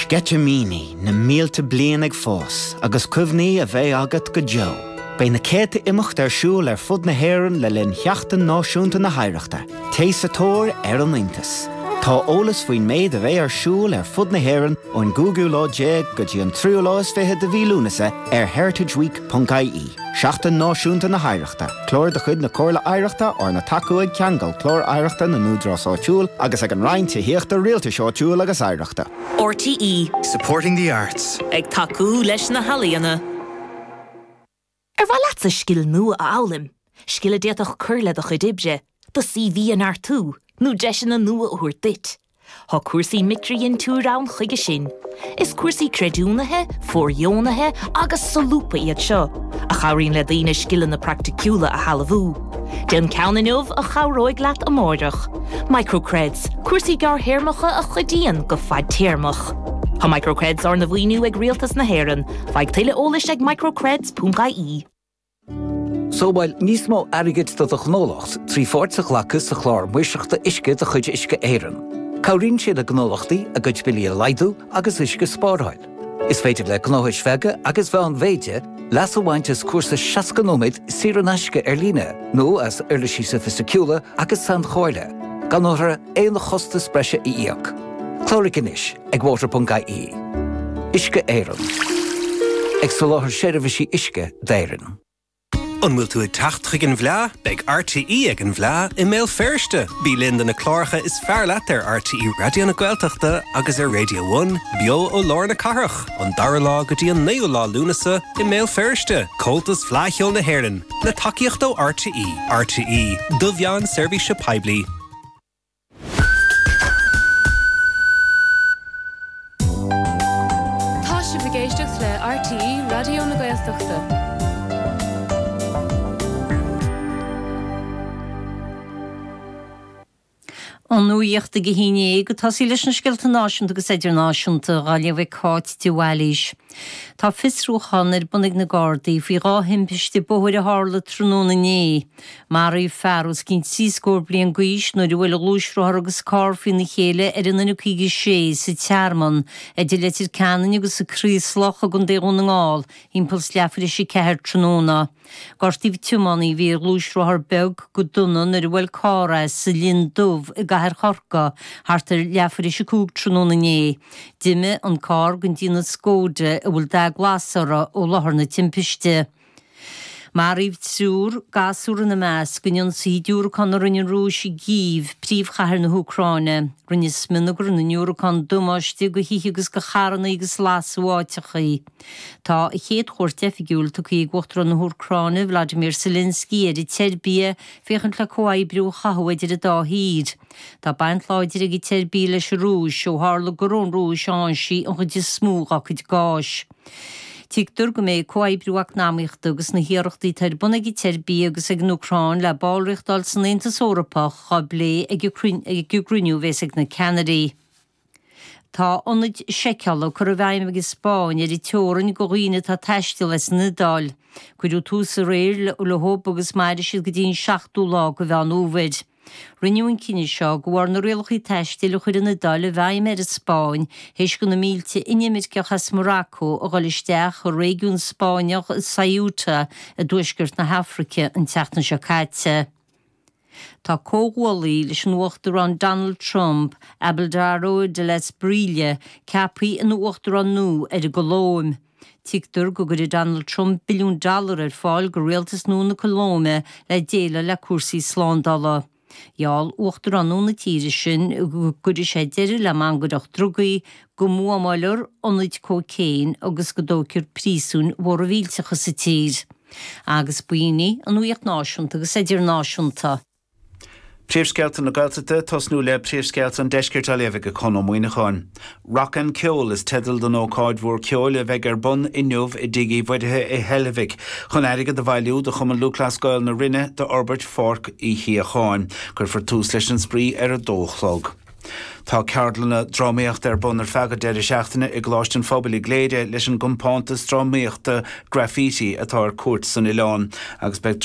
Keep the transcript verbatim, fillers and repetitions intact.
Sceitimíní na mílte bliain ag fás agus cuimhní a bheidh agat go deo. Beidh na céadta imeacht ar siúl ar fud na hÉireann le linn Sheachtain Náisiúnta na hOidhreachta, Téigh sa tóir ar an iontas. Tá eolas faoin méid a bheidh ar siúl ar fud na hÉireann ón gcúigiú lá déag go dtí an tríú lá is fiche de mhí Lúnasa ar heritageweek.ie. Seachtain Náisiúnta na hOidhreachta, Clár de chuid na Comhairle Oidhreachta arna tacú ag Ceangal Clár Oidhreachta na nÚdarás Áitiúil agus ag an Roinn Tithíochta Rialtais Áitiúil agus Oidhreachta. RTÉ Supporting the arts. Ag tacú leis na healaíona. Ar mhaith leatsa scil nua a fhoghlaim, scil a d'fhéadfadh cur le do chuid oibre, do CV a neartú, nó deiseanna nua a thabhairt duit. Tá cúrsaí micridhintiúir ann chuige sin. Is cúrsaí creidiúnaithe, fóirdheonaithe agus solúbtha iad seo, a chabhraíonn le daoine scileanna praiticiúla a shealbhú. Déan ceann inniu a chabhróidh leat amárach. Microcreds, cúrsaí gearrthéarmacha a chuidíonn go fadtéarmach. Tá Microcreds arna mhaoiniú ag Rialtas na hÉireann, faigh tuilleadh eolais ag microcreds.ie. Sábháil níos mó airgid do do ghnólacht trí pháirt a ghlacadh sa chlár maoirseachta uisce de chuid Uisce Éireann. Cabhraíonn sé le gnólachtaí a gcuid billí a laghdú agus uisce a spáráil. Is féidir le gnóthais bheaga agus mheánmhéide leas a bhaint as cúrsa seasca nóiméad saor in aisce ar líne nó as uirlisí sofaisticiúla agus sainchomhairle, gan orthu aon chostas breise a íoc. Cláraigh anois ag water.ie. Uisce Éireann. Ag soláthar seirbhísí uisce d'Éirinn. An bhfuil tú ag teacht chuig an bhFleá? Beidh RTÉ ag an bhFleá i mBéal Feirste. Bí linn do na cláracha is fearr leat ar RTÉ Raidió na Gaeltachta agus ar Radio One, beo ó lár na cathrach, an dara lá go dtí an naoú lá Lúnasa i mBéal Feirste, Comhaltas Fleadh Cheoil na hÉireann, le tacaíocht ó RTÉ, RTÉ, do mheán seirbhíse poiblí. Tá sibh ag éisteacht le RTÉ Raidió na Gaeltachta. An nuacht ag a haon déag ag tosaí leis na scéalta náisiúnta agus idirnáisiúnta á léamh ag Cáit de Bhailís. Tá fiosrúchán ar bun ag na Gardaí faoi dhá thimpiste bóthair a tharla tráthnóna inné. Maraíodh fear os cionn trí scór bliain d'aois nuair a bhuail a ghluaisrothar agus carr faoina chéile ar an N caoga sé sa Tearmann, idir Leitir Ceanainn agus an Chraoslach i gContae Dhún na nGall, thimpeall is leathuair tar éis a ceathair tráthnóna. Gortaíodh tiománaí a bhí ar ghluaisrothar beag go dona nuair a bhuail carr é sa Linn Dubh i gcathair Chorcaí thart ar leathuair tar éis a cúig tráthnóna inné. D'imigh an carr den déanamh Skoda a bhfuil dath glas orthu ó láthair na timpiste. Maraíodh triúr, gasúr ina measc, in ionsaí diúracán a rinne an Rúis i gCív, príomhchathair na hÚcráine. Rinne smionagar na ndiúracán damáiste do thithe agus do charranna agus lasadh áiteachaí. Tá a chéad chuairt oifigiúil tugtha ag Uachtarán na hÚcráine, Vladimir Zelensky, ar an tSeirbia féachaint le comhoibriú a chothú idir an dá thír. Tá baint láidir ag an tSeirbia leis an Rúis ó tharla gur ón Rúis a fhaigheann sí an chuid is mó dá cuid gáis. Tuigtear go mbeidh comhoibriú eacnamaíochta agus na hiarrachtaí atá ar bun ag an tSeirbia agus ag an Úcráin le ballraíocht a fháil san Aontas Eorpach á bplé ag an gcruinniú a bheas ag na ceannairí. Tá ionaid seiceála curtha i bhfeidhm ag an Spáinn ar an teorainn do dhaoine atá ag taisteal as an Iodáil. Cuireadh tús aréir leo agus mairfidh siad go dtí an seachtú lá de Mheán Fhómhair. Rinneadh an cinneadh seo de bharr na rialacha taistil a chuir an Iodáil i bhfeidhm ar an Spáinn théis do na mílte inimirceach as Morocco a dhul isteach i réigiún Spáinneach Ceuta i dtuaisceart na hAfraice an tseachtain seo caite. Tá comhghuaillí leis an Uachtarán Donald Trump, Abelardo de la Espriella, ceaptha ina uachtarán nua ar an gColóim. Tuigtear go gcuirfidh Donald Trump billiún dollar ar fáil do rialtas nua na Colóime le déileáil le cúrsaí slándála. Gheall uachtarán nua na tíre sin go gcuirfidh sé deireadh le mangaireacht drugaí, go mbuamáilfear ionaid cócaon agus go dtógfar príosúin mhóra mhillteacha sa tír. Agus b'in í an nuacht náisiúnta agus idirnáisiúnta. Príomhscéalta na Gaeltachta, tosnú le príomhscéalta an deiscirt á léamh ag Conn Ó Muíneacháin. Rock and Ceol is teideal don ócáid mhór ceoil a bheidh ar bun inniu i dTigh Uí Mhuirithe i Heilbhic chun airgead a bhailiú do Chumann Lúthchleas Gael na Rinne d'fhorbairt Pháirc Uí Shíocháin. Cuirfear tús leis an spraoi ar a dó a chlog. Tá ceardlanna drámaíochta ar bun ar feadh an deireadh seachtaine i gColáiste an Phobail i gCléire leis an gcompántas drámaíochta Graffiti atá ar cuairt san oileán agus beidh